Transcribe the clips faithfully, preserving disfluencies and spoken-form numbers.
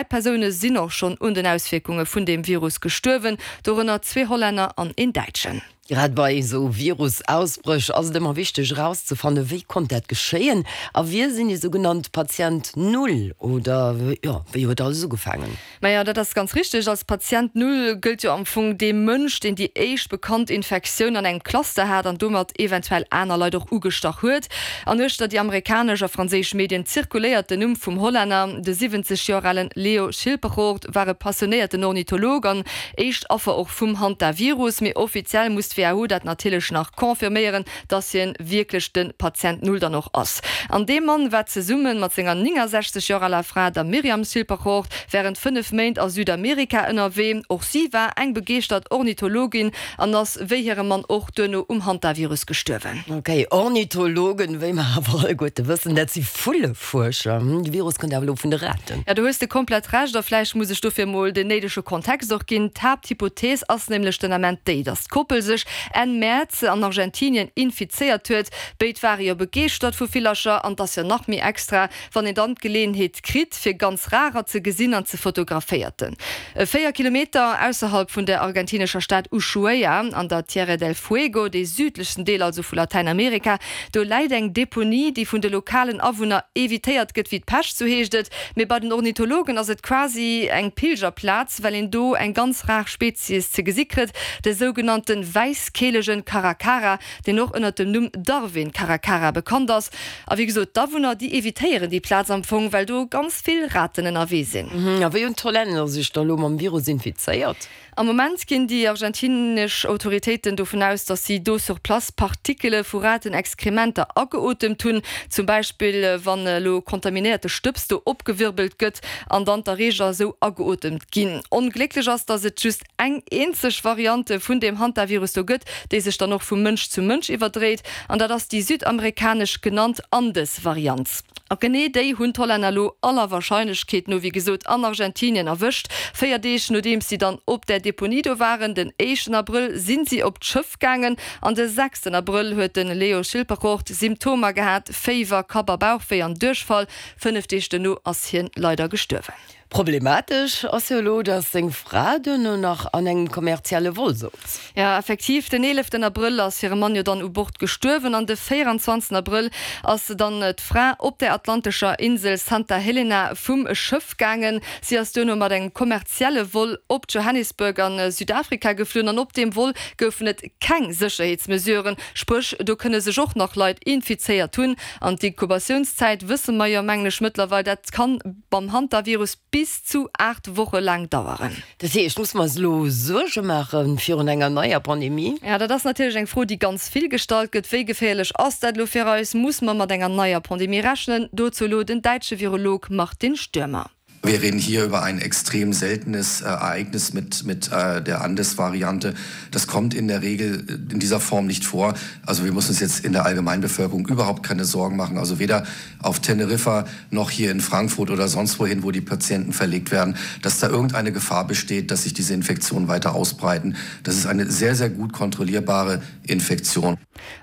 Persoune sinn och schonn un den Auswierkunge vun deem Virus gestuerwen, dorënner zwee Hollänner an een Däitschen. Grad bei esou Virusausbréch ass et ëmmer wichteg erauszefannen, wéi konnt dat geschéien a wie sinn déi sougenannt Patient Null oder jo, wéi huet alles ugefaangen? Maja, dat ass ganz richteg. Als Patient Null gëllt jo am Fong dee Mënsch, deen déi éischt bekannt Infektioun an engem Cluster hat an domat eventuell aner Leit och ugestach huet. An uechter déi amerikanesch a franséisch Medien zirkuléiert den Numm vum Hollänner. De siwwenzeg Joer alen Leo Schilperoort war e passionéierten Ornitholog an éischt Affer och vum Hantavirus. Mee offiziell muss d'WHO dat natierlech nach confirméieren, dass hien wierklech de Patient Null dann och ass. An dee Mann war zesumme mat senger néngensechzeg Joer aler Fra, der Myriam Schilperoort, wärend fënnef Méint a Südamerika ënnerwee. Och si war eng begeeschtert Ornithologin an ass wéi hire Mann och duerno um Hantavirus gestuerwen. Ok, Ornithologen, wéi mer awer alleguerte wëssen, dat si Vullefuerscher. De Virus kënnt awer elo vun de Raten. Jo, do hues de komplett Recht a vläicht muss ech dofir emol den néidege Kontext och ginn. D'Haapthypothees ass nämlech den Ament déi, dass d'Koppel sech Enn Mäerz an Argentinien infizéiert huet. Béid ware jo begeeschtert vu Villercher an 't ass jo nach méi extra, wann een dann d'Geleeënheet kritt, fir ganz rarer ze gesinn an ze fotograféierten. Véier Kilometer ausserhalb vun der argentinescher Stad Ushuaia an der Tierra del Fuego, dee südlechsten Deel also vu Latäinamerika, do läit eng Deponie, déi vun de lokalen Awunner evitéiert gëtt wéi d'Pescht, sou heescht et. Mee bei den Ornithologen ass et quasi eng Pilgerplaz, well een do eng ganz rar Spezies ze gesi kritt, de sougenannte wäisskeelegen Caracara, deen och ënnert dem Numm Darwin-Caracara bekannt ass. A wéi gesot, d'Awunner, déi evitéieren déi Plaz am Fong, well do ganz vill Raten ënnerwee sinn. A wéi hunn d'Hollänner sech da lo mam Virus infizéiert? Am Moment ginn déi argentinesch Autoritéiten dovun aus, datt si do sur place Partikele vu Ratenexkrementer ageotemt hunn. Zum Beispill wann elo kontaminéierte Stëbs do opgewirbelt gëtt an dann d'Erreeger esou ageotemt ginn. Onglécklech ass, datt et just eng eenzeg Variante vun deem Hantavirus do gëtt, déi sech dann och vu Mënsch zu Mënsch iwwerdréit, an dat ass déi südamerikanesch genannt Andes-Variant. A genee déi hunn d'Hollänner elo aller Warscheinlechkeet no, wéi gesot, an Argentinien erwëscht. Véier Deeg nodeems si dann op där Deponie do waren, den éischten Abrëll, si si op d'Schëff gaangen an de sechsten Abrëll huet de Leo Schilperoort Symptomer gehat, Féiwer, Kapp a Bauchwéi an Duerchfall. Fënnef Deeg duerno ass hien leider gestuerwen. Problematesch ass jo elo, dass seng Fra duerno nach an engem kommerzielle Vol souz. Jo, effektiv, den eeleften Abrëll ass hire Mann jo dann u Bord gestuerwen an de véieranzwanzegsten Abrëll ass dann d'Fra op der atlantescher Insel Santa Helena vum Schëff gaangen. Si ass duerno mat engem kommerzielle Vol op Johannesburg a Südafrika geflunn an op deem Vol goufen et keng Sécherheetsmesuren, spréch do kënne sech och nach Leit infizéiert hunn. An d'Inkubatiounszäit wësse mer jo, mengen ech, mëttlerweil, dat kann beim Hantavirus bis zu aacht Woche laang daueren. Dat heescht, musse mer eis elo Suerge maache virun enger neier Pandemie? Jo, dat ass natierlech eng Fro, déi ganz vill gestallt gëtt. Wéi geféierlech ass dat elo fir eis? Muss mer mat enger neier Pandemie rechnen? Dozou elo den däitsche Virolog Martin Stürmer. Wir reden hier über ein extrem seltenes äh, Ereignis mit, mit äh, der Andes-Variante. Das kommt in der Regel äh, in dieser Form nicht vor. Also wir müssen uns jetzt in der Allgemeinbevölkerung überhaupt keine Sorgen machen. Also weder auf Teneriffa noch hier in Frankfurt oder sonst wohin, wo die Patienten verlegt werden, dass da irgendeine Gefahr besteht, dass sich diese Infektionen weiter ausbreiten. Das ist eine sehr, sehr gut kontrollierbare Infektion.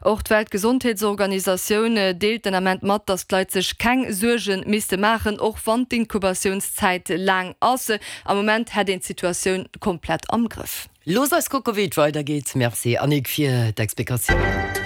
Och d'Weltgesondheetsorganisatioun deelt den Ament mat, datt d'Leit sech keng Suerge misste maachen, och wann d'Inkubatiounszäit laang ass. Am Moment hätt een d'Situatioun komplett am Grëff. Looss eis kucke wéi et weidergeet. Merci Annick fir d'Explikatioun.